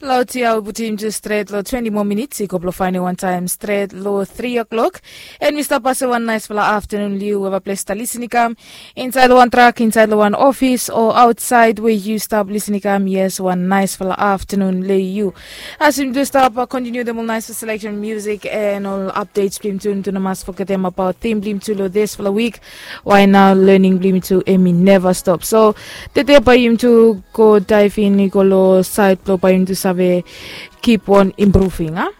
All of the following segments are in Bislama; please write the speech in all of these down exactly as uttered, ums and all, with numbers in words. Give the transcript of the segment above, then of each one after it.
Laut ya wi putim tu stret long twenti moa minits i go blong fainiu wantaim stret long tri o'klok. En mi stap pase wan naispela aftanun long yu we bai ples ta lisin i kam insaid long wan trak, insaid long wan ofis o autsaid we yu stap lisin i kam. Yes, wan naispela aftanun long yu. As yumi tu stap kontiniu dem ol naispela seleksen musik en ol apdets blong yumi tu, yumi tu no mas fogetem abaut tim blong yumi tu long dispela wik. Wai nau lening blong yumi tu em i neva stop. So tete bai yumi tu go daivin i go long sait blong bai yumi tu save kip on impruving a.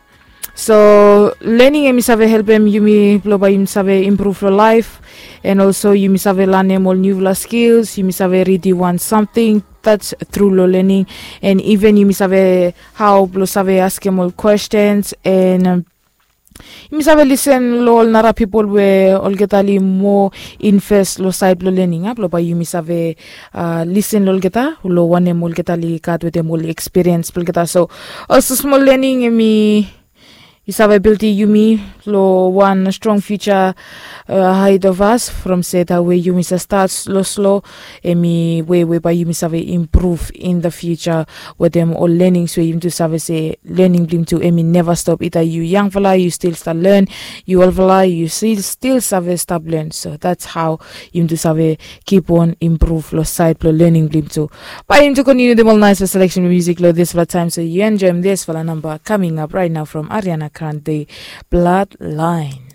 So lening em i save helpem yumi blong bai yumi save impruv long laif. En olso yumi save lanem ol niufala skils, yumi save ridim wan samting. That's tru long lening. En iven yumi save hau blong save askem ol kwestens en um, yumi save lisen long ol nara pipol we olgeta li moa invest long sait blong lening a blong bai yumi save uh, lisen long olgeta long wanem olgeta li gat wetem ol ekspiriens blong olgeta. So olsem smol lening em i i save bildim yumi long wan strong future uh, ahead of us from se da we yumi sa stat slo slo. Em i we we bai yumi save improve in the future wetem ol learnings we yumi tu save se learning blong yumi tu em i neva stop. Ita yu yangfala yu stil stap learn, yu olfala yu stil save stap learn. So that's how yumi tu save kip on improve long sait blong learning blong yumi tu. Bai yumi tu kontinu dem ol nice selection music long dispela time, so yu enjoyim dispela number coming up right now from Ariana Grande, Bloodline.